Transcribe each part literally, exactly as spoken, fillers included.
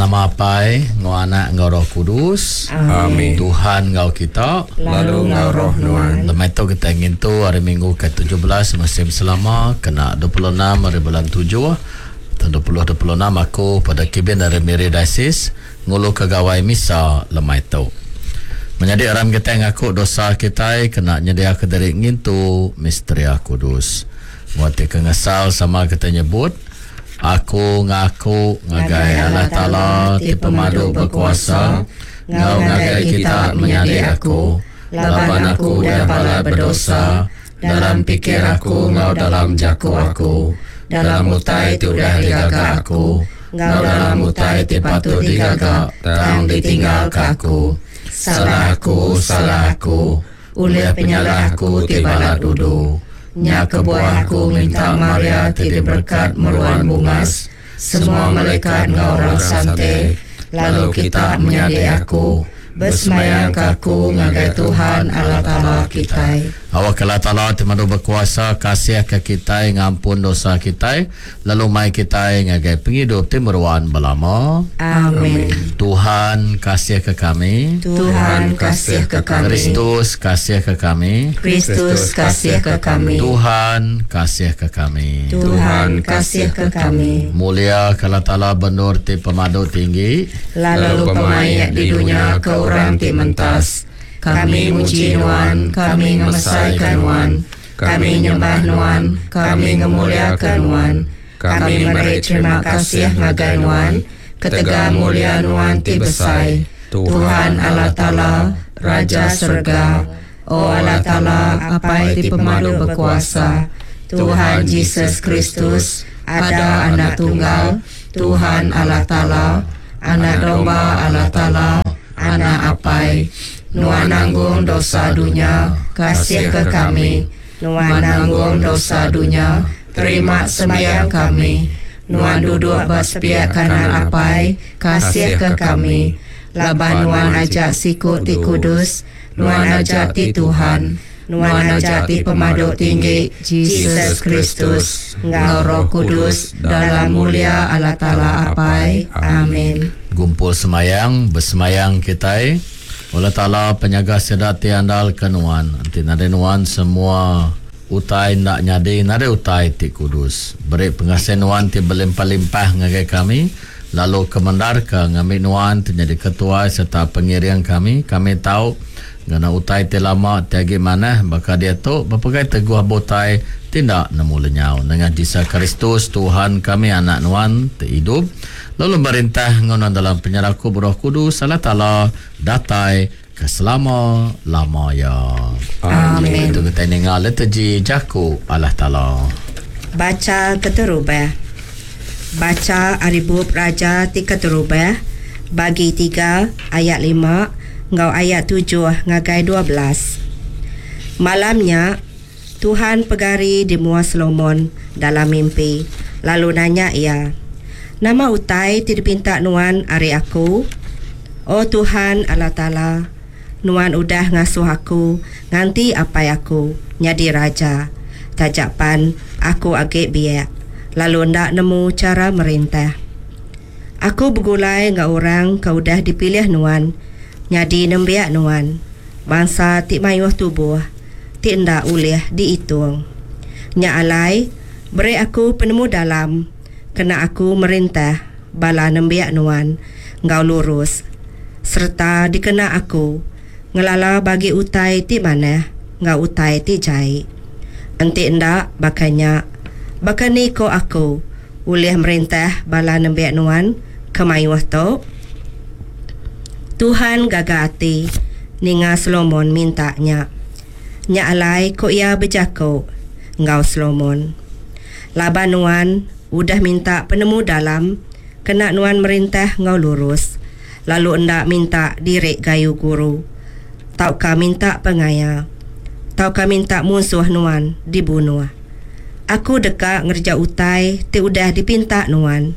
Dalam nama Apai, enggau Anak, enggau Roh Kudus. Amin. Tuhan enggau kita. Lalu enggau roh nuan. Lemai tu kita ngintu hari Minggu ke tujuh belas musim selama kena dua puluh enam hari bulan tujuh tahun dua ribu dua puluh enam. Aku pada kibin dari Miri Diocese ngulu ke gawai misa lemai tu. Menyadi aram kita ngaku dosa kita kena nyedia ke diri ngintu misteria kudus. Buat ke ngesal sama kita nyebut, aku ngaku ngagai Allah Ta'ala ti pemadu berkuasa, ngau ngagai kita menyadi aku, laban aku udah balat berdosa dalam pikir aku ngau dalam jaku aku, dalam utai ti udah digaga aku, ngau dalam utai ti patut digaga tang ditinggalka aku. Salah aku, salah aku, ulih penyalah aku ti balat udu. Nya kebuah aku minta Maria ti diberkat meruan bungas, semua malaikat enggau orang sante, lalu kita menyadi aku, bersemayang ke aku ngagai Tuhan Allah Ta'ala kita. Awak Allah Ta'ala ti madu berkuasa kasih ke kita, ngampun dosa kita, lalu mai kita ngagai penghidup ti meruan belama. Amin. Tuhan kasih ke kami. Tuhan kasih ke kami. Kristus kasih ke kami. Kristus kasih ke kami. Tuhan kasih ke kami. Tuhan kasih ke kami. Mulia ke Allah Ta'ala benur ti pemadu tinggi, lalu pemaik di dunia ke orang ti mentas. Kami muji Nuan, kami ngemesaikan Nuan, kami nyembah Nuan, kami ngemuliakan Nuan, kami meri terima kasih ngagai Nuan, ketegal mulia Nuan ti besai, Tuhan Allah Ta'ala, Raja Serga, O Allah Ta'ala, Apai ti pemadu berkuasa, Tuhan Jesus Kristus, ada anak tunggal, Tuhan Allah Ta'ala, anak domba Allah Ta'ala, anak Apai, Nuan nanggung dosa dunia, kasih ke kami. Nuan nanggung dosa dunia, terima sembahyang kami. Nuan duduk ba sepiak kanan Apai, kasih ke kami. Laban Nuan ajak siku ti kudus, Nuan ajak ti Tuhan, Nuan ajak ti pemadu tinggi, Jesus Kristus, enggau Roh Kudus, dalam mulia Allah Ta'ala Apai. Amin. Gumpul semayang, bersemayang kita. Allah Ta'ala penyaga sedat ti andal ke nuan. Nanti nade nuan semua utai nak nyadi, nade utai ti kudus. Beri pengasih nuan ti berlimpah-limpah ngagai kami, lalu kemendar ke ngambil nuan ti jadi ketua serta pengiring kami. Kami tahu ngena utai ti lama ti agi manah, baka dia tu berpegai teguh botai tindak nemu lenyau. Dengan Jesus Kristus Tuhan kami, anak nuan ti hidup lalu merintah ngono dalam penyeraku Roh Kudus Allah Ta'ala datai ke selama-lama ya. Amin. Itu kita dengar liturgi jaku Allah Ta'ala. Baca keterubah. Baca Aribub Raja ti keterubah bagi tiga ayat lima ngau ayat tujuh ngagai dua belas. Malamnya Tuhan pegari di mua Solomon dalam mimpi, lalu nanya ia, nama utai ti dipinta nuan ari aku? O Tuhan Allah Ta'ala, nuan udah ngasuh aku nganti apai aku nyadi raja. Tajapan aku agi biak, lalu ndak nemu cara merintah. Aku begulai enggau orang ke udah dipilih nuan nyadi nembiak nuan, bangsa ti mayuh tubuh ti ndak ulih dihitung. Nya alai beri aku penemu dalam, kena aku merintah bala nembiak nuan enggau lurus, serta dikena aku ngelala bagi utai ti manah enggau utai ti jai. Enti ndak bakanya, bakani ko aku ulih merintah bala nembiak nuan ke mayuh tu? Tuhan gaga ati ninga Solomon minta nya. Nya alai ko ia berjako enggau Solomon, laban nuan udah minta penemu dalam, kena nuan merintah enggau lurus, lalu endak minta diri gayu guru, tauka minta pengaya, tauka minta musuh nuan dibunuh. Aku deka ngerja utai ti udah dipinta nuan.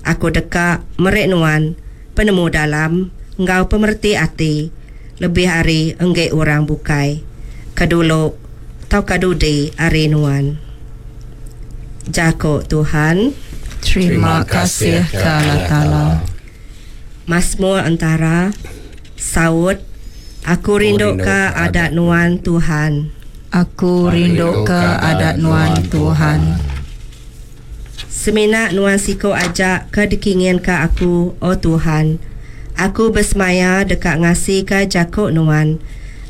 Aku deka merik nuan penemu dalam enggau pemerti ati lebih ari engge orang bukai kedulu tauka dudi ari nuan. Jako Tuhan. Terima kasih ke Allah Ta'ala. Masmur entara. Saut, Aku rinduka adat Nuan, Tuhan. Aku rinduka adat Nuan, Tuhan. Semina Nuan siku aja ke dikinginka aku, O Tuhan. Aku besemaya deka ngasika jaku Nuan.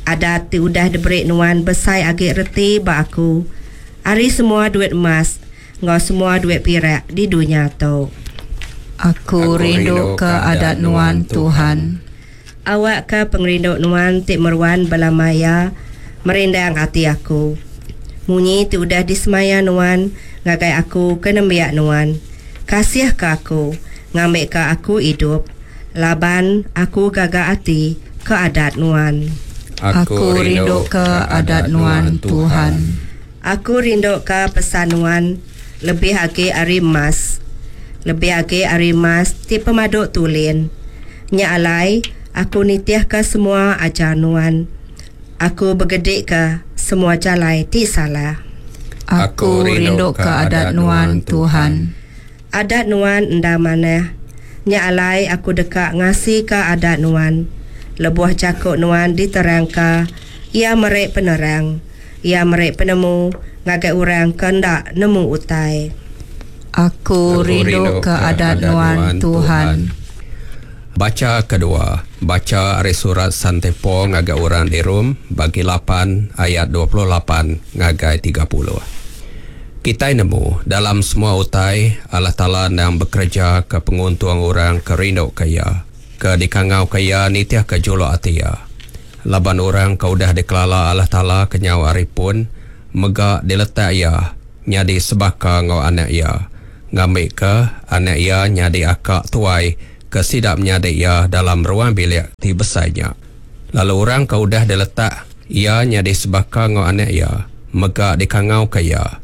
Adat ti udah diberi Nuan besai agi reti ba aku ari semua duit emas enggau semua duit pirak di dunya tu. Aku rinduka adat Nuan, Tuhan. Awakka pengerindu Nuan ti meruan belama iya merindang ati aku, munyi ti udah disemaya Nuan ngagai aku ke nembiak Nuan. Kasihka aku, ngambika aku idup, laban aku gaga ati ke adat Nuan. Aku rinduka adat Nuan, Tuhan. Aku rinduka pesan Nuan lebih agi ari emas, lebih agi ari emas ti pemadu tulin. Nya alai, aku nitihka semua ajar Nuan. Aku begedika semua jalai ti salah. Aku rinduka adat Nuan, Tuhan. Adat Nuan endang manah. Nya alai aku deka ngasika adat Nuan. Lebuh jaku Nuan diterangka, iya meri penerang. Iya meri penemu ngagai orang ke enda nemu utai. Aku rinduka adat Nuan, Tuhan. Bacha kedua, bacha ari surat Sante Paul ngagai orang di Rom bagi lapan ayat dua puluh lapan ngagai tiga puluh. Kitai nemu dalam semua utai Allah Taala endang bekereja ke penguntung orang ke rindu ke iya, ke dikangau ke iya nitih ke juluk ati iya. Laban orang ke udah dikelala Allah Taala kenyau ari pun mega diletak iya nyadi sebaka enggau anak iya, ngambika anak iya nyadi akak tuai ke sida menyadi iya dalam ruang bilik ti besai nya. Lalu orang ke udah diletak iya nyadi sebaka enggau anak iya mega dikangau ke iya.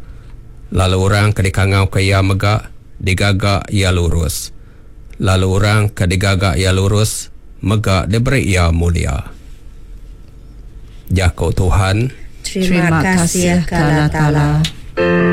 Lalu orang ke dikangau ke iya mega digaga iya lurus. Lalu orang ke digaga iya lurus mega diberi iya mulia. Jaku Tuhan. Terima kasih ke Allah Taala.